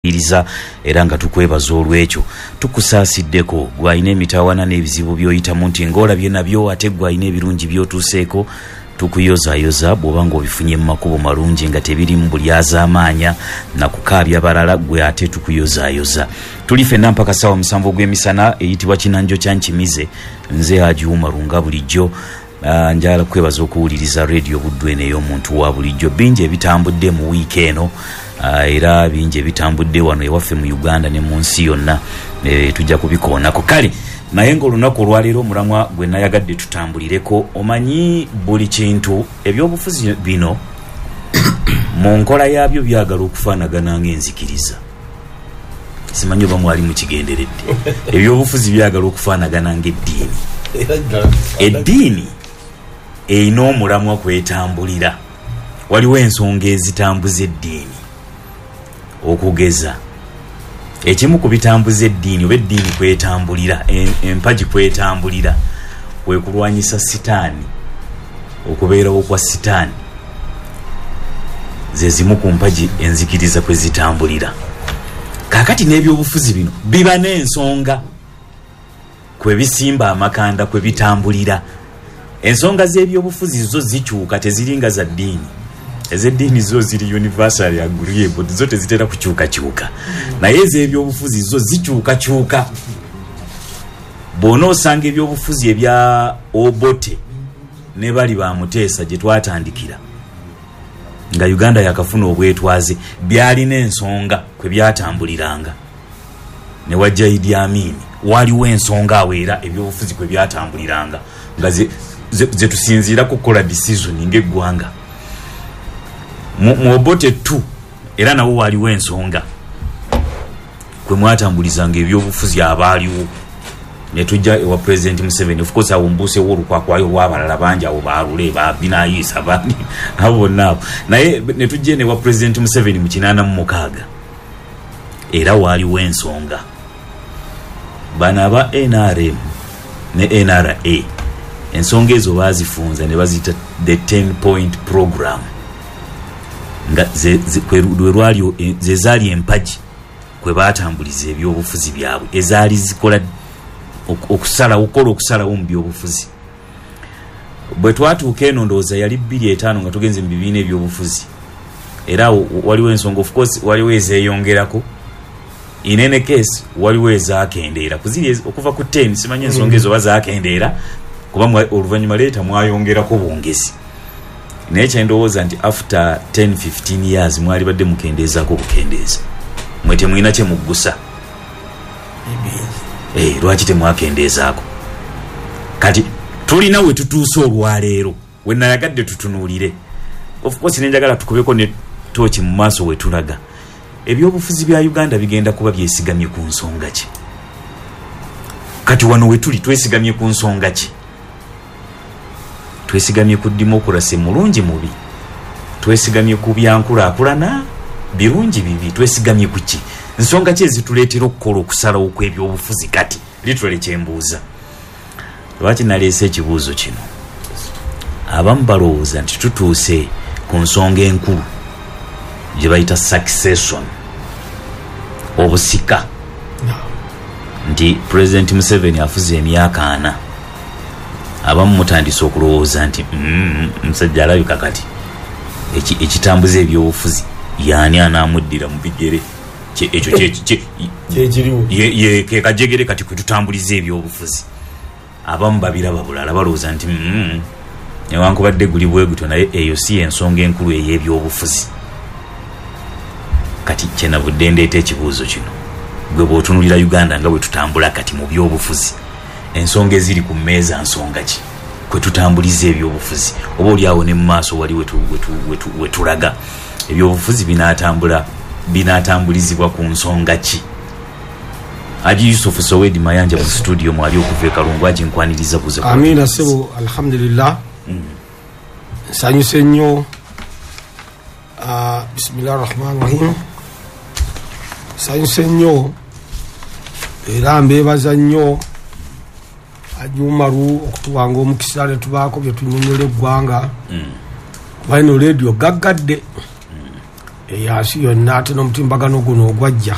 Iriza era nga tukwebaza olw'ekyo. Tukusaasiddeko gw'alina emitawaana n'ebizibu by'oyitamu nti ng'olabye nabyo, ate gw'alina ebirungi by'otuuseeko tukuyozayoza bw'oba ng'obifunye mu makubo malungi nga tebirimu bulyazaamaanya na kukaabya balala, gwe ate tukuyozayoza. Tuli ffenna mpaka ssaawa 7 ogw'emisana eyitibwa Kinanjo kya Nkimize. Nze Haji Umaru nga bulijjo. Njagala kukwebaza okuwuliriza Radio Buddu eno ey'omuntu wa bulijjo. Bingi ebitambudde mu wiiki eno, era bingi ebitambudde wano ewaffe mu Uganda ne mu nsi yonna, tujja kubikoonako. Kale naye ng'olunaku olwaleero omulamwa gwe nayagadde tutambulireko, omanyi buli kintu ebyobufuzi bino mu nkola yaabyo byagala okufaanagana ng'enzikiriza. Simanyi oba mwali mukigenderedde. Ebyobufuzi byagala okufaanagana ng'eddiini. Eddiini erina omulamwa kwetambulira. Waliwo ensonga ezitambuza eddiini. Okugeza, ekimu ku bitambuza eddiini oba eddiini kwetambulira, empagi kwetambulira, kwe kulwanyisa sitaani, okubeerawo kwa sitaani. Ze zimu ku mpagi enzikiriza kwe zitambulira. Kaakati n'ebyobufuzi bino biba n'ensonga kwe bisimba amakanda, kwe bitambulira. Ensonga z'ebyobufuzi zo zikyuka, teziringa za ddiini. Ez'eddiini zo ziri universally agreeable, zo tezitera kukyukakyuka. Naye ez'ebyobufuzi zo zikyukakyuka. Bw'onoosanga ebyobufuzi ebya Obote ne bali ba Muteesa gye twatandikira nga Uganda yakafuna obwetwaze, byalina ensonga kwe byatambuliranga. Ne wajja Idi Amin, waaliwo ensonga awo era ebyobufuzi kwe byatambuliranga nga ze tusinziirako okukola decision ng'eggwanga. Mu Obote 2 era nawo waaliwo ensonga kwe mwatambulizanga ebyobufuzi abaaliwo. Ne tujja ewa Pulezidenti Museveni, of course awo mbuusewo olukwakwayo olw'abalala bangi awo ba Lule, ba Binaisa, bani abo bonna abo. Naye ne tujja eno ewa Pulezidenti Museveni mu 86 era waaliwo ensonga. Bano aba NRM ne NRA ensonga ezo baazifunza ne baziyita the 10 point program, nga ze zaali empagi kwe baatambuliza ebyobufuzi byabwe, ezaali zikola okusalawo, okukola okusalawo mu byobufuzi. Bwe twatuuka eno ndowooza yali 2005 nga tugenze mu bibiina ebyobufuzi, era waliwo ensonga, of course waliwo ezeeyongerako, in any case waliwo ezaakendeera kuziri okuva ku 10. Simanyi ensonga ezo oba zaakendeera kuba oluvannyuma leeta mwayongerako bwongezi, naye kyendowooza nti after 10 15 years mwalibadde mukendeezaako bukendeeza. Mwe temulina kye muggusa. Lwaki temwakendeezaako? Kati tulina we tutuuse olwaleero we nayagadde tutunuulire. Of course nenjagala tukubeko ne tooki mu maaso we tulaga. Ebyobufuzi bya Uganda bigenda kuba byesigamye ku nsonga ki? Kati wano we tuli twesigamye ku nsonga ki? Twesigamye ku democracy mulungi mubi? Twesigamye ku byankulaakulana birungi bibi? Twesigamye ku ki? Nsonga ki ezituleetera okukola okusalawo kw'ebyobufuzi kati? Literally kyembuuza. Lwaki naleese ekibuuzo kino? Abamu balowooza nti tutuuse ku nsonga enkulu gye bayita succession, obusika, nti Pulezidenti Museveni afuze emyaka 40. Abamu mutandise okulowooza nti omusajja alabika kati ekitambuza ebyobufuzi yaani anaamuddira mu bigere. Ekyo ke kajegere kati kwe tutambuliza ebyobufuzi. Abamu babiraba bulala, balowooza nti newankubadde guli bwe gutyo, naye eyo si y'ensonga enkulu ey'ebyobufuzi. Kati kyenavudde ndeeta ekibuuzo kino, gwe bw'otunulira Uganda nga bwe tutambula kati mu byobufuzi, ensonga eziri ku mmeeza nsonga ki kwe tutambuliza ebyobufuzi? Oba oli awo ne mu maaso wali we tulaga ebyobufuzi binaatambula, binaatambulizibwa ku nsonga ki? Haji Yusufu Sowedi Mayanja mu situdiyo mwali okuva e Kalungu. Haji, nkwaniriza, buuza ku Amiina ssebo, alhamdulillah, nsanyuse nnyo. Bisimillahi rahmani rahim. Nsanyuse nnyo era mbeebaza nnyo Haji Umaru okutuwanga omukisa ne tubaako bye tunyonyola eggwanga, kuba eno leediyo gaggadde. Eyansi yonna, ate n'omutimbagano guno ogwajja.